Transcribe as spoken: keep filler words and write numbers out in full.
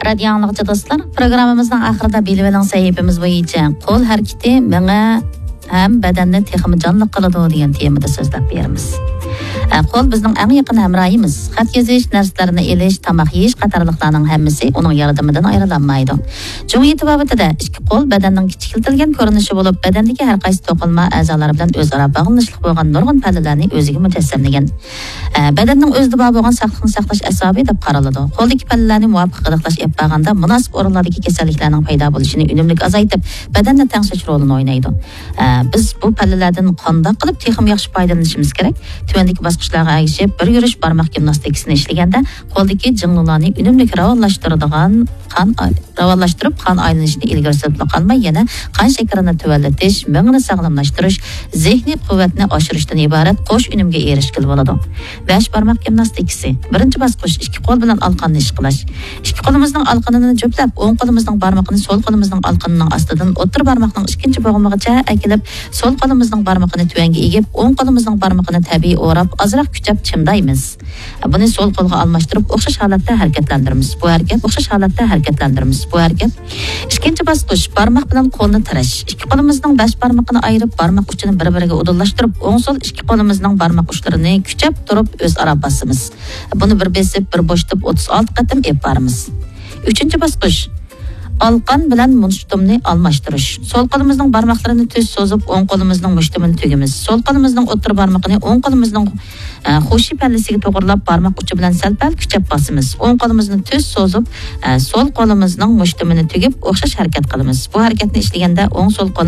رادىيو ئاڭلىغۇچى دوستلار، پروگراممىمىزنىڭ ئاخىرىدا بېلىۋېلىڭ سەھىپىمىز بويىچە قول ھەرىكىتى مېڭە ھەم بەدەننى تېخىمۇ جانلىق قىلىدۇ دېگەن تېمىدا سۆزلەپ بېرىمىز. ئە، قول بىزنىڭ ئەڭ يېقىن ھەمراھىمىز. خەت يېزىش، نەرسىلەرنى ئېلىش، تاماق يېيىش قاتارلىقلارنىڭ ھەممىسى ئۇنىڭ ياردىمىدىن ئايرىلالمايدۇ. جۇڭيى تېبابىتىدە ئىككى قول بەدەننىڭ كىچىكلىتىلگەن كۆرۈنۈشى بولۇپ، بەدەندىكى ھەر قايسى توقۇلما ئەزالار بىلەن ئۆزئارا باغلىنىشلىق بولغان نۇرغۇن پەللىلەرنى ئۆزىگە مۇجەسسەملىگەن. ئە، بەدەننىڭ ئۆزىدە بار بولغان ساقلىقنى ساقلاش ئەسۋابى دەپ قارىلىدۇ. قولدىكى پەللىلەرنى مۇۋاپىق غىدىقلاش ئېلىپ بارغاندا، مۇناسىپ ئورۇنلاردىكى كېسەللىكلەرنىڭ پەيدا بولۇشىنى ئۈنۈملۈك ئازايتىپ، بەدەننى تەڭشەش رولىنى ئوينايدۇ. ئە، بىز بۇ پەللىلەردىن قانداق قىلىپ تېخىمۇ ياخشى پايدىلىنىشىمىز كېرەك؟ تۆۋەندىكى باسقۇچلارغا ئەگىشىپ، بىر يۈرۈش بارماق گىمناستىكىسىنى ئىشلىگەندە، قولدىكى جىڭلۇلارنى ئۈنۈملۈك راۋانلاشتۇرىدىغان قان ئاي-، راۋانلاشتۇرۇپ، قان ئايلىنىشىنى ئىلگىرى سۈرۈپلا قالماي، يەنە قان شېكىرىنى تۆۋەنلىتىش، مېڭىنى ساغلاملاشتۇرۇش، زېھنىي قۇۋۋەتنى ئاشۇرۇشتىن ئىبارەت قوش ئۈنۈمگە ئېرىشكىلى بولىدۇ. بەش بارماق گىمناستىكىسى. بىرىنچى باسقۇچ، ئىككى قول بىلەن ئالىقاننى ئىشقىلاش. ئىككى قولىمىزنىڭ ئالىقىنىنى جۈپلەپ، ئوڭ قولىمىزنىڭ بارمىقىنى سول قولىمىزنىڭ ئالىقىنىنىڭ ئاستىدىن ئوتتۇرا بارماقنىڭ ئىككىنچى بوغۇمىغىچە ئەكېلىپ، سول قولىمىزنىڭ بارمىقىنى تۆۋەنگە ئېگىپ، ئوڭ قولىمىزنىڭ بارمىقىنى تەبىئىي ئوراپ، ئازراق كۈچەپ چىمدايمىز. بۇنى سول قولغا ئالماشتۇرۇپ، ئوخشاش ھالەتتە ھەرىكەتلەندۈرىمىز. بۇ ھەرىكەت ئوخشاش ھالەتتە ھەرىكەتلەندۈرىمىز. بۇ ھەرىكەت. ئىككىنچى باسقۇچ، بارماق بىلەن قولنى تىرەش. ئىككى قولىمىزنىڭ بەش بارمىقىنى ئايرىپ، بارماق ئۇچىنى بىر-بىرىگە ئۇدۇللاشتۇرۇپ، ئوڭ سول ئىككى قولىمىزنىڭ بارماق ئۇچلىرىنى كۈچەپ تۇرۇپ ئۆزئارا باسىمىز. بۇنى بىر بېسىپ، بىر بوشىتىپ ئوتتۇز ئالتە قېتىم ئېلىپ بارىمىز. ئۈچىنچى باسقۇچ، ئالىقان بىلەن مۇشتۇمنى ئالماشتۇرۇش. سول قولىمىزنىڭ بارماقلىرىنى تۈز سوزۇپ، ئوڭ قولىمىزنىڭ مۇشتۇمىنى تۈگىمىز. سول قولىمىزنىڭ ئوتتۇرا بارمىقىنى ئوڭ قولىمىزنىڭ، ئە، خۇشى پەللىسىگە توغرىلاپ، بارماق ئۇچى بىلەن سەل-پەل كۈچەپ باسىمىز. ئوڭ قولىمىزنى تۈز سوزۇپ، ئە، سول قولىمىزنىڭ مۇشتۇمىنى تۈگۈپ، ئوخشاش ھەرىكەت قىلىمىز. بۇ ھەرىكەتنى ئىشلىگەندە ئوڭ سول قول